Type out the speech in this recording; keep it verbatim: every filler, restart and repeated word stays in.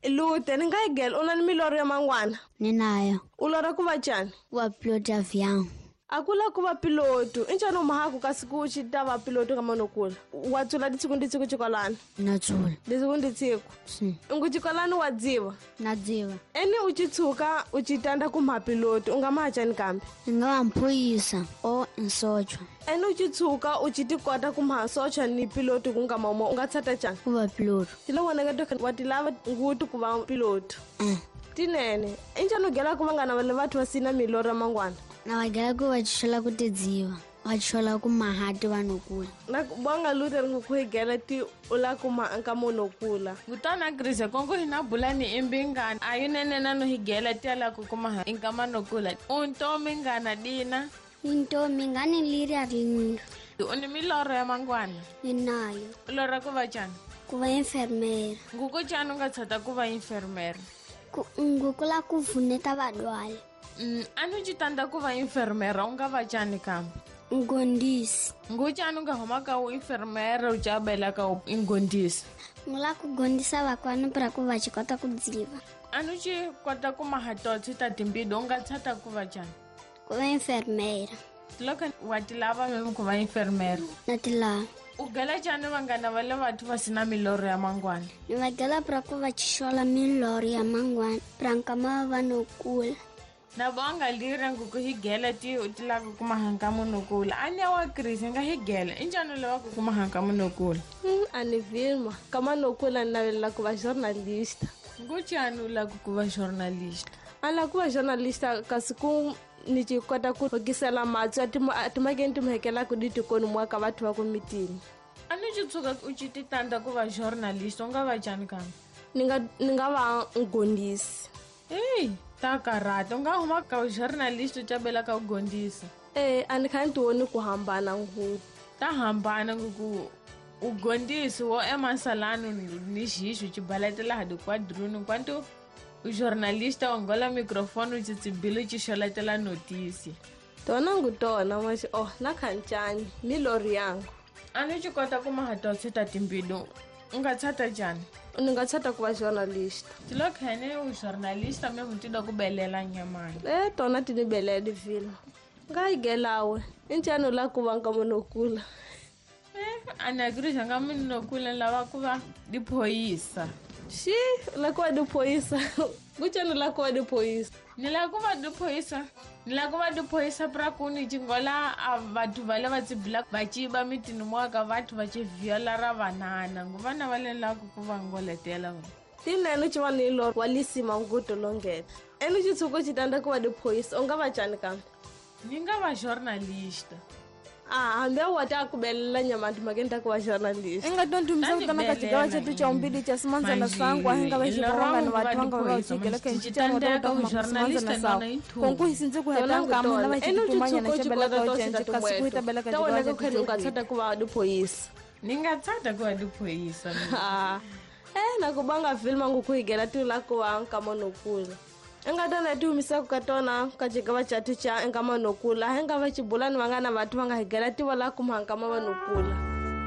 Lute ni nga higela u na ni milorho ya mangwana? Ni nayo. U lorha ku va cani? Ku va piloto ya vyangu. A ku la ku va piloto i ncani u mahaku kasi ku xi ta va piloto ka manokula? Wa tsula ditshiku ndi tshiku xikolani? Na tsula. Ditshiku ndi tshiku? Si. Ngu xikolani wa dziva? Na dziva. Eni u ci tshuka u ci tanda ku mha piloto u nga maha cani kambe? Ni nga va mphoyisa o nsochwa. Eni u ci tshuka u ci ti kota ku mha socha ni piloto ku nga mama u nga tshata cani? Ku va piloto. Ti lo vonaka to wa ti lava nguti ku va piloto. Eh. Tinene i ncani u gela ku vangana va le vathu va sina milorho ya mangwana? Na va gela ku va chola ku tidziva, va chola ku mahati vanhu kula. Na ku va nga lute ri ku higela ti u la ku ma nka munhu kula. Kutana Chris kongo hina bulani imbingana a yi nene na no higela ti ala ku kuma nka munhu kula. U ntomi ngana dina? Ntomi ngani liri a ringa. U ni milorho ya mangwana? Ni nayo. U lorha ku va cani? Ku va enfermera. Nguku cani u nga tshata ku va enfermera? Ku nguku la ku pfuneta vadwali. Mm, a ni ci tanda ku va enfermera u nga va cani kambe? Ngondisi. Ngu cani u nga huma ka u enfermera u cabela ka u ngondisi? Ngu la ku gondisa vakwani pra ku va ci kota ku dziva. A ni ci kota ku maha totsi ta timbidu u nga tshata ku va cani? Ku va enfermera. Loko wa ti lava meme ku va enfermera? Na ti lava. U gela cani vanghana va le vathu va sina milorho ya mangwana? Ni va gela pra ku va ci xola milorho ya mangwana pra nkama va no kula. Na vonga lira nguku higela ti u ti lava ku mahanka munhu kula. A ni wa Chris nga higela i njhani u lava ku kuma hanka munhu kula? Mm, a ni vilma kama no kula ni navelela ku va journalist. Ngu cani u lava ku va journalist? A lava ku va journalist kasi ku ni ci kota ku hokisela matsu a timakeni ti muhekelaka ni tikoni mwa ka vathu va ku mitini. A ni ci tshuka u ci ti tanda ku va journalist u nga va cani kambe? Ni nga ni nga va ngondisi. Hey, ta karata u nga huma ka journalist u cabela ka u gondisa. Eh, a ni kha ni ti voni ku hambana ngopfu. Ta hambana ku u gondisi wo emasalani ni xixo ci baletela ha dikwadruni kwanto u journalista u ngola microphone u tsitsibile u ci xoletela notisi. Tona ngu tona maxi oh na khancani milorho yangu. A ni ci kota ku maha totsi ta timbilu u nga tshata njhani? Ni nga tshata ku va journalist. Ti lo khene u journalist me mu ti do ku belela nyamani. Eh tona ti ni belela vilma. Nga higelawe i ncani u la ku va nka munhu kula? Eh a ni agree nga munhu kula lava ku va diphoyisa. Xi la ku va diphoyisa. Ku cani la ku va diphoyisa? Ni la ku va diphoyisa. Ni la ku va diphoyisa pra ku ni cingola a vathu va le va tsibila va ciba mitini mwa ka vathu va ci viola ra vanana ngu vana va le la ku ku va ngoletela va. Tinene ci va ni lorho wa lisima nguto longena. Eni ci tshuka ci tanda ku va diphoyisa u nga va cani kambe? Ni nga va journalist. Ah, hambi wa ta ku belela nyama timakeni ta ku va journalist. I nga to ndumisa ku tana ka xigawa xetu xa umbili xa simandzana sangu a hi nga va xivangana vathu va nga va xigela ka xicana ta ku simandzana sangu. Konku hi sindze ku heta nkama na va xitumanyana xa bela ka cenci kasi ku ta bela ka Ta xigawa wena xa ku kheni u nga tshata ku va diphoyisa. Ni nga tshata ku va diphoyisa. Ah. Eh na ku va nga vilma ngu ku higela ti la ku va nkama no kula. I nga tona ti humisaka ka tona ka xigawa xa thu xa nkama no kula. Hi nga va xibulani vangana vathu va nga higela ti va la ku ma nkama va no kula.